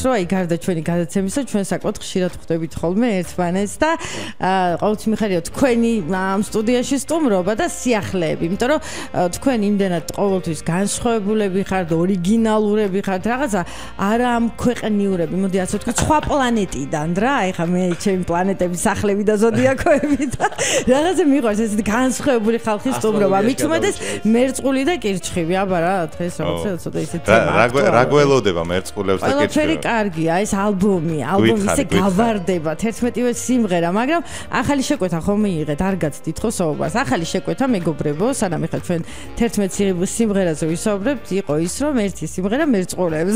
რომ აი გარდა ჩვენი გადაცემისა ჩვენ საკმაოდ ხშირად ხვდებით ხოლმე ერთმანეთს და ყოველთვის მიხარია თქვენი ამ სტუდიაში სტუმრობა და სიახლეები, იმიტომ რომ თქვენ იმდენად ყოველთვის განსხვავებულები ხართ, ორიგინალურები ხართ, რაღაცა არა ამ ქვეყნიურები, მოდი ასე ვთქვი, სხვა პლანეტიდან რა, აი ხა მე ჩემი პლანეტების სახლები და ზოდიაკოები და რაღაცა მიყვარს ესეთი განსხვავებული ხალხის სტუმრობა, მით უმეტეს მერწყული და კირჩხიბი, აბა რა დღეს რაღაცა ცოტა ისეთი რა გველოდება მერწყულებს და კირჩხიბებს? კარგია ეს ალბომი ისე გავარდება 11-ვე სიმღერა, მაგრამ ახალი შეკვეთა ხომ მიიღეთ, არ გაცდით ხო საუბარს. ახალი შეკვეთა მეგობრებო, სანამ ეხლა ჩვენ 11 სიმღერაზე ვისაუბრებთ, იყო ის რომ ერთი სიმღერა მერწყულებს.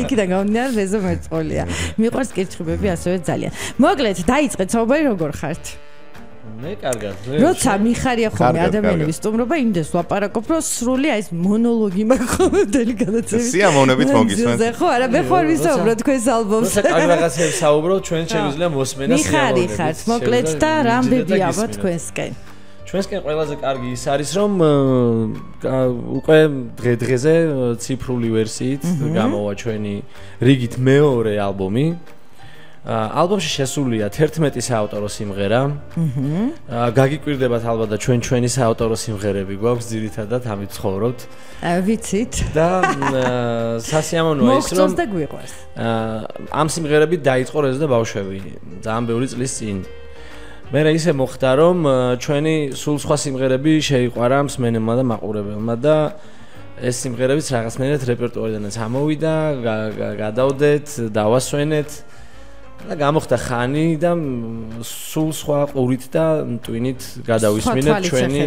იქიდან გამომდინარე რეზო მერწყულია. მიყვარს კირჩხიბები ასევე ძალიან. მოკლედ, დაიწყეთ საუბარი როგორ ხართ? მე კარგად. როცა მიხარია ხოლმე ადამიანების სტუმრობა, იმდეს ვაპარაკობ, რომ სრული აი ეს მონოლოგი მაქვს ხოლმე დელიკატაციის. სიამოვნებით მოგისმენთ. ხო, არა, მე ხوار ვისაუბრო თქვენს ალბომს. როცა კარგ რაღაცებს საუბრობ, ჩვენ შეგვიძლია მოსმენა სიამოვნებით. მიხარი ხართ, მოკლედ და რამდენი აბა თქვენსკენ. ჩვენსკენ ყველაზე კარგი ის არის, რომ უკვე დღე-დღეზე ციფრული ვერსიით გამოვა ჩვენი რიგით მეორე ალბომი. ალბომში შესულია 11 საავტორო სიმღერა. გაგიკვირდებათ ალბათ და ჩვენი საავტორო სიმღერები გვაქვს ძირითადად ამით ცხოვრობთ. ვიცით. და სასიამოვნოა ის რომ მოგწონს და გვიყვარს. ამ სიმღერებით დაიწყო რეზო და ბავშვები ძალიან ბევრი წლის წინ. მე ისე მოხდა რომ ჩვენი სულ სხვა სიმღერები შეიყვარა მსმენელმა და მაყურებელმა და ეს სიმღერებიც რაღაცნაირად რეპერტუარიდანაც ამოვიდა, გადავდეთ, დავასვენეთ. და გამოხდა ხანი და სულ სხვა ყურით და ტვინით გადავისმინეთ ჩვენი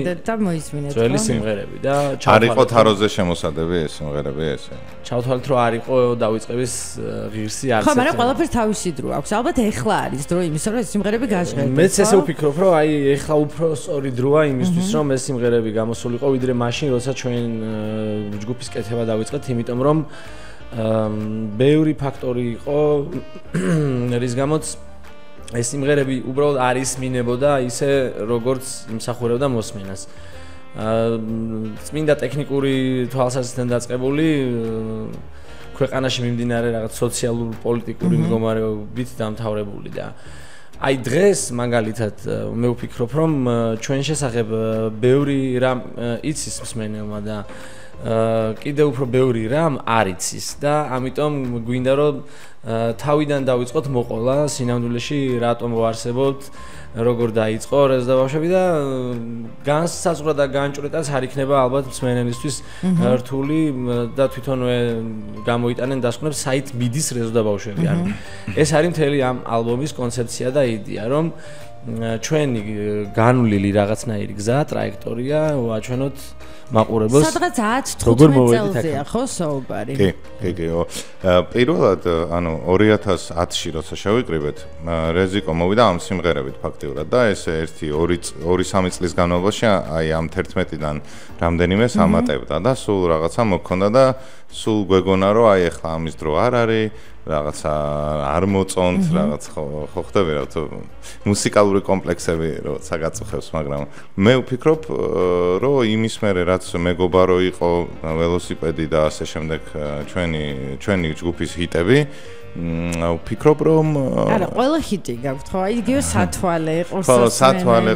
ძველი სიმღერები და არ იყო თაროზე შემოსადები ეს სიმღერები ესე. ჩავთვალეთ რომ არ იყო დავიწყების ღირსი არც. ხო, მაგრამ ყველაფერს თავისი დრო აქვს. ალბათ ეხლა არის დრო იმისა რომ ეს სიმღერები გაჟღერდეს. მეც ესე ვფიქრობ რომ აი ეხლა უფრო სწორი დროა იმისთვის რომ ეს სიმღერები გამოსულიყო ვიდრე მაშინ როცა ჩვენ ჯგუფის კეთება დავიწყეთ, იმიტომ რომ ბევრი ფაქტორი იყო რის გამოც ეს სიმღერები უბრალოდ არ ისმინებოდა ისე როგორც იმსახურებდა მოსმენას. წმინდა ტექნიკური თვალსაზრისით დაწყებული ქვეყანაში მიმდინარე რაღაც სოციალურ პოლიტიკური მდგომარეობით დამთავრებული და აი დღეს მაგალითად მე ვფიქრობ რომ ჩვენ შესახებ ბევრი რამ იცის მსმენელმა და კიდევ უფრო ბევრი რამ არ იცის და ამიტომ გვინდა რომ თავიდან დავიწყოთ მოყოლა სინამდვილეში რატომ ვარსებობთ, როგორ დაიწყო რეზო და ბავშვები და განსაზღვრა და განჭვრეტაც არ იქნება ალბათ მსმენელისთვის რთული და თვითონვე გამოიტანენ დასკვნებს საით მიდის რეზო და ბავშვები. ანუ ეს არის მთელი ამ ალბომის კონცეფცია და იდეა, რომ ჩვენი განვლილი რაღაცნაირი გზა, ტრაექტორია ვაჩვენოთ მაყურებელს. სადღაც 10-15 წელზეა ხო საუბარი? კი. პირველად ანუ 2010-ში როცა შევიკრიბეთ, რეზიკო მოვიდა ამ სიმღერებით ფაქტიურად და ეს 2-3 წლის განმავლობაში აი ამ 11-დან რამდენიმეს ამატებდა და სულ რაღაცა მოქონდა და სულ გვეგონა რომ აი ახლა ამის დრო არ არის, რაღაცა არ მოწონთ, რაღაც ხო ხდება რა თქო მუსიკალური კომპლექსები როცა გაწუხებს, მაგრამ მე ვფიქრობ რომ იმის მერე რაც მეგობარო იყო ველოსიპედი და ასე შემდეგ ჩვენი ჯგუფის ჰიტები ვფიქრობ რომ არა ყველა ჰიტი გაქვთ ხო აი იგივე სათვალე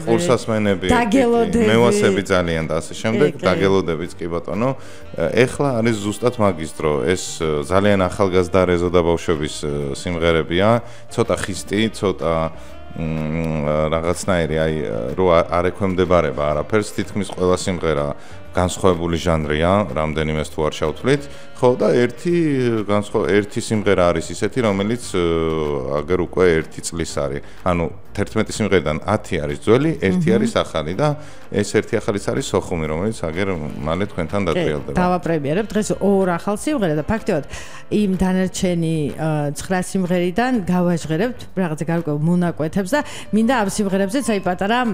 ყურსასმენები მევასები ძალიან და ასე შემდეგ დაგელოდებიც კი ბატონო ეხლა არის ზუსტად მაგის დრო ეს ძალიან ახალგაზრდა რეზო და ბავშვების სიმღერებია ცოტა ხისტი ცოტა რაღაცნაირი აი რო არ ექვემდებარება არაფერს თითქმის ყველა სიმღერა განსხვავებული ჟანრია რამდენიმეს თუ არ შევთვლით ხო და ერთი სიმღერა არის ისეთი რომელიც აგერ უკვე 1 წლის არის ანუ 11 სიმღერიდან 10 არის ძველი 1 არის ახალი და ეს 1 ახალიც არის სოხუმი რომელიც აგერ მალე თქვენთან დატრიალდება დავაპრემიერებ დღეს 2 ახალ სიმღერა და ფაქტობრივად იმ დანარჩენი 9 სიმღერიდან გავაჟღერებთ რაღაცა გარკვეულ მონაკვეთებს და მინდა ამ სიმღერებზეც აი პატარა